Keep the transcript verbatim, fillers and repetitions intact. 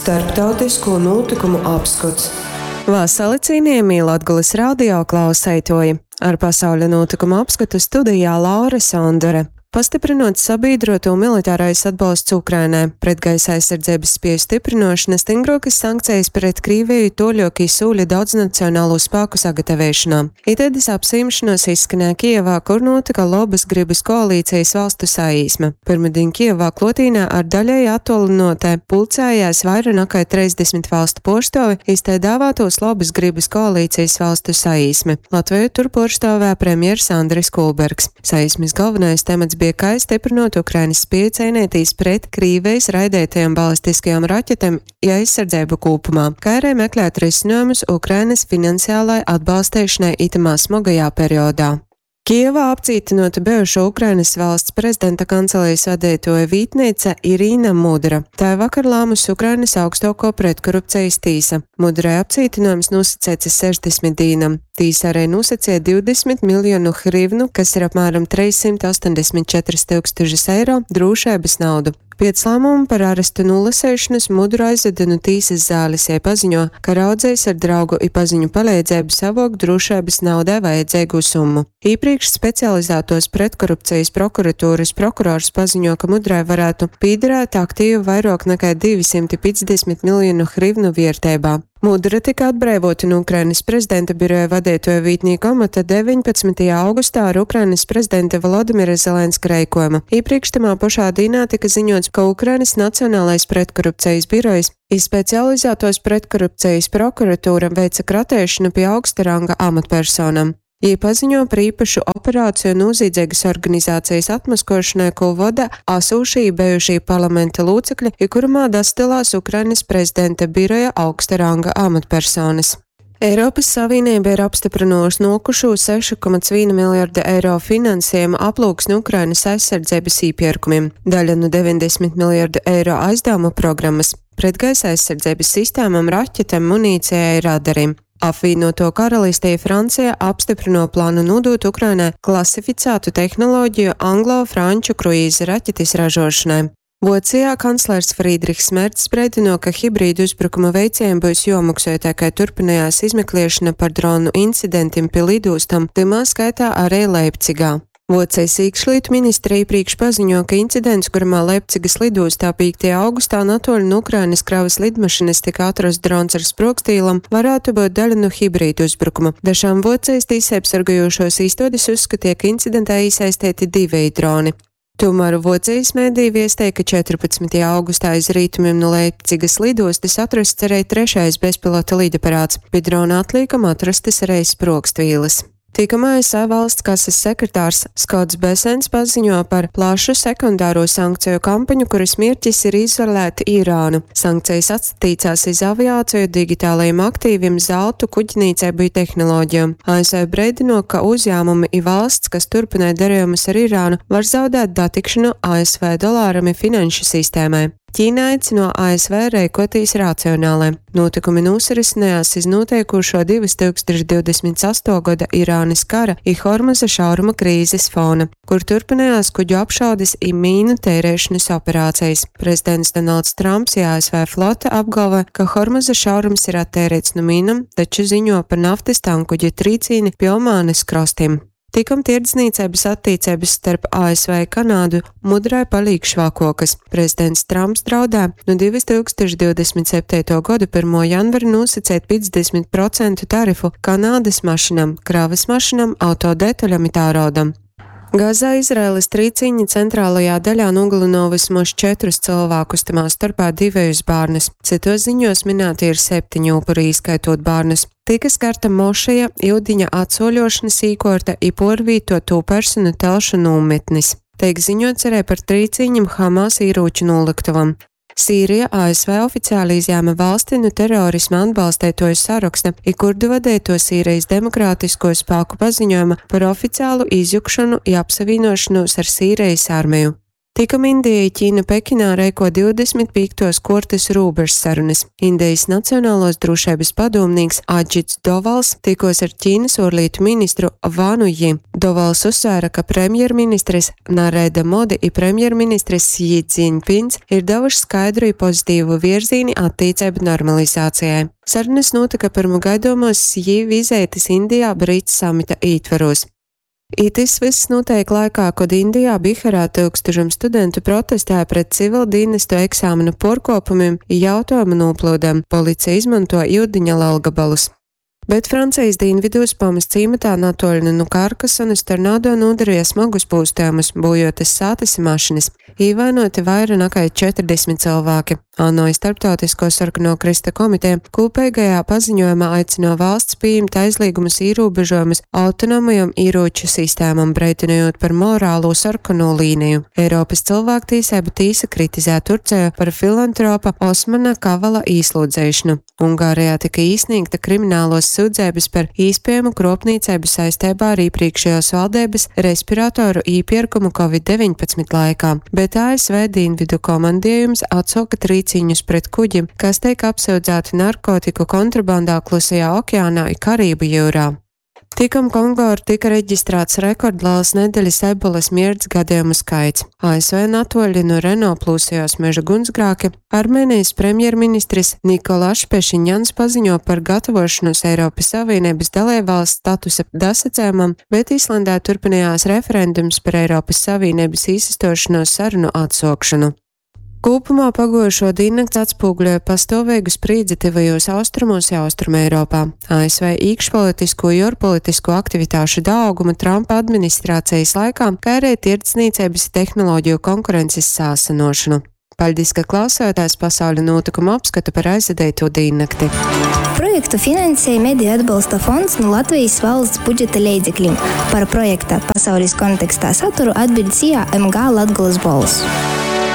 Starptautisko nūtykumu apskots. Vasali, cienījamie Latgulas radio klauseitoji! Ar pasauļa nūtykumu apskatu studijā Laura Sondore. Pastiprinot sabīdroto militārais atbalsts Ukrainai, pretgaisa aizsardzības spēju stiprinošana, stingrokas sankcijas pret Krīviju, toļoki sūļi daudznacionālo spēku sagatavēšanā. Itēdis apsīmšanos izskanēja Kijevā, kur notika lobas gribas koalīcijas valstu saīsme. Pirmdien Kijevā klotīnā ar daļēji attolinotē pulcējās vairāk nekā trīsdesmit valstu porstovi, iztē dāvātos lobas gribas koalīcijas valstu saīsme. Latviju tur porstāvē premjers Andris Kulbergs. Saīsmes galvenais temats bija kā stiprinot Ukrainas spēju cīnīties pret Krīvijas raidētajām balistiskajām raķetēm ja aizsardzību kopumā, kā arī meklēt risinājumus Ukrainas finansiālai atbalstīšanai itamā smagajā periodā. Kijevā apcītinota bijušo Ukrainas valsts prezidenta kancelijas vadītoja vītneica Irīna Mudra. Tā vakar lēmusi Ukrainas augstāko pretkorupcijas tīsa. Mudrai apcītinājums nosacīts sešdesmit dīnam. Tīsa arī nosacīja divdesmit miljonu hrivnu, kas ir apmēram trīssimt astoņdesmit četri tūkstoši eiro, drošības naudu. Pēc lēmuma par arestu nolasēšanas Mudru aizveda no tīsas zāles, ja paziņo, ka raudzējs ar draugu i paziņu palīdzību savok drošības naudai vajadzīgu summu. Iepriekš specializētos pretkorupcijas prokuratūras prokurors paziņo, ka Mudrai varētu pīderēt aktīvu vairāk nekā divi simti piecdesmit miljonu hrivnu vērtībā. Mudra tika atbrīvota no Ukrainas prezidenta biroja vadītoja vītnieka amata deviņpadsmitajā augustā ar Ukrainas prezidenta Volodimira Zelenska reikojumu. Iepriekš tamā pašā dienā tika ziņots, ka Ukrainas Nacionālais pretkorupcijas birojs i specializētos pretkorupcijas prokuratūra veica kratēšanu pie augsta ranga amatpersonam. Jī paziņo par īpašu operāciju nozīdzīgas organizācijas atmaskošanai, ko vada asūšī bijušī parlamenta locekļi, i kurumā dastalās Ukrainas prezidenta biroja augsta ranga amatpersonas. Eiropas Savienība ir apstiprinājusi nokušo sešu komats viena miljarda eiro finansējumu aplūksni Ukrainas aizsardzības īpirkumiem, daļa no deviņdesmit miljardu eiro aizdevumu programmas, pretgaisa aizsardzības sistēmām, raķetēm, munīcijai, radariem. Apvienoto karalistē Francija apstiprino plānu nodot Ukrainai klasificētu tehnoloģiju anglo-franču kruīza raķetes ražošanai. Vācijā kanclers Friedrichs Merts brīdino, ka hibrīdu uzbrukuma veicējiem būs jomaksā, tā kā turpinājās izmeklēšana par dronu incidentiem pie lidostam, timā skaitā arī Leipcigā. Vācijas iekšlietu ministrija iepriekš paziņo, ka incidents, kuramā Leipcigas lidostā piektajā augustā natoļu no Ukrainas kravas lidmašīnas tika atrasts drons ar sprogstīlam, varētu būt daļa no hibrīdu uzbrukuma. Dažām Vācijas tiesībsargājošos īstodes uzskatīja, ka incidentā iesaistīti divi droni. Tomēr Vācijas mēdī viestēja, ka četrpadsmitajā augustā aiz rietumiem no Leipcigas lidostas atrasts arī trešais bezpilota lidaparāts. Pie drona atliekam atrastas arī sprogstvīles. Tikam A S V valsts kases sekretārs Skots Besens paziņo par plašu sekundāro sankciju kampaņu, kuras mērķis ir izolēt Irānu. Sankcijas atstatīcās iz aviāciju, digitālajiem aktīviem, zeltu, kuģnīcību un tehnoloģijām. A S V brīdino, ka uzņēmumi i valsts, kas turpināja darījumus ar Irānu, var zaudēt datikšanu A S V dolāram i finanšu sistēmai. Ķīna aicino A S V rēkoties racionāli. Notikumi nosarisinājās iz noteikušo divas tūkstoši divdesmit asto gada Irānas kara i Hormuza šauruma krīzes fona, kur turpinājās kuģu apšaudes i mīnu tērēšanas operācijas. Prezidents Donalds Trumps i A S V flote apgalvo, ka Hormuza šaurums ir attērēts no mīnam, taču ziņo par naftas tankuģa trīcīni pie Omānas krastiem. Tikam tirdzniecības attiecības starp A S V Kanādu mudrai palīk švakokas. Prezidents Trumps draudē no divas tūkstoši divdesmit septīto gadu pirmo janvaru nosacīt piecdesmit procentu tarifu Kanādas mašīnām, kravas mašīnām, autodetaļam i tēraudam. Gazā Izraēlas trīcīņa centrālajā daļā nogalino vismaz četrus cilvēkus, tamā starpā divejus bērnus. Citos ziņos minēti ir septiņi upuri, ieskaitot bērnus. Tika skarta mošeja, iudiņa atsoļošanas īkorta i porvīto to personu telšu nometnis. Tiek ziņots arī par trīcīņam Hamas ieroču noliktavam. Sīrija A S V oficiāli izņēma valsti no terorisma atbalstētoju saraksta, i kurdu vadēto Sīrijas demokrātisko spēku paziņojuma par oficiālu izjukšanu i apsavienošanos ar Sīrijas armiju. Tikom Indija i Ķīna Pekinā reiko divdesmit pīktuos kuortys rūbežsarunys. Indejis Nacionaluos drūšeibys padūmnīks Adžits Dovals tikuos ar Ķīnys uorlītu ministru Vanu Ji. Dovals uzsvēra, ka premjerministris Narendra Modi i premjerministris Sji Dzinpins ir davuši skaidru i pozitīvu vierzīni attīceibu normalizācijai. Sarunys nūtyka pyrma gaidomuos Sji vizeitis Indijā BRICS samita ītverūs. I tys vyss nūteik laikā, kod Indijā Biharā tyukstušom studentu protestēja pret civildīnestu eksāmenu puorkuopumim i jautuojumu nūplyudem. Policija izmontuo iudiņa lelgabalus. Bet Francejis dīnvidūs Pamas cīmatā natuoļ nu Karkasonas tornado nūdarīja smagus pūstejumus, būjotas sātys i mašynys. Īvainoti vaira nakai četrdesmit cylvāki. ANO i Starptautisko sarkano krysta komiteja kūpeigajā paziņojumā aicino valsts pījimt aizlīgumus īrūbežojumus autonomajom īrūču sistēmom, breidynojot par morālū sarkano līniju. Eiropys cylvāktīseibu tīsa kritizē Turceju par filantropa Osmana Kavala īslūdzeišonu. Ungārijā tika īsniegta krimināluos syudzeibys par īspiejamu kruopnīceibu saisteibā ar īprīkšejuos valdeibys respiratoru īpierkumu Covid deviņpadsmit laikā, bet A S V dienvidu komandiejums atsoka trīcīņus pret kuģim, kas teik apsyudzēti narkotiku kontrabandā Klusajā okeānā i Karību jūrā. Tikom Kongo tika reģistrēts rekordliels nedeļas ebolas mierts gadījumu skaits. A S V natuoļi no Renault plūsējos meža gunsgrāki, Armēnijas premjerministris Nikolašs Pešinjans paziņo par gatavošanos Eiropas Savienības dalībvalsts statusa dasacējumam, bet Islandē turpinājās referendums par Eiropas Savienības izstošanos sarunu atsokšanu. Kopumā pagojušo diennakts atspoguļoja pastāvīgu sprīdzi tuvajos austrumos i Austrumeiropā. A S V iekšpolitisko i ārpolitisko aktivitāšu daugumu Trumpa administrācijas laikā, kā arī tirdzniecības i tehnoloģiju konkurences sāsinošanu. Paļdis, ka klausījāties pasauļa notikumu apskatu par aizvadīto diennakti. Projektu finansēja Mediju atbalsta fonds no Latvijas valsts budžeta leidzekļiem. Par projekta pasaules kontekstā saturu atbild S I A M G Latgulas Bols.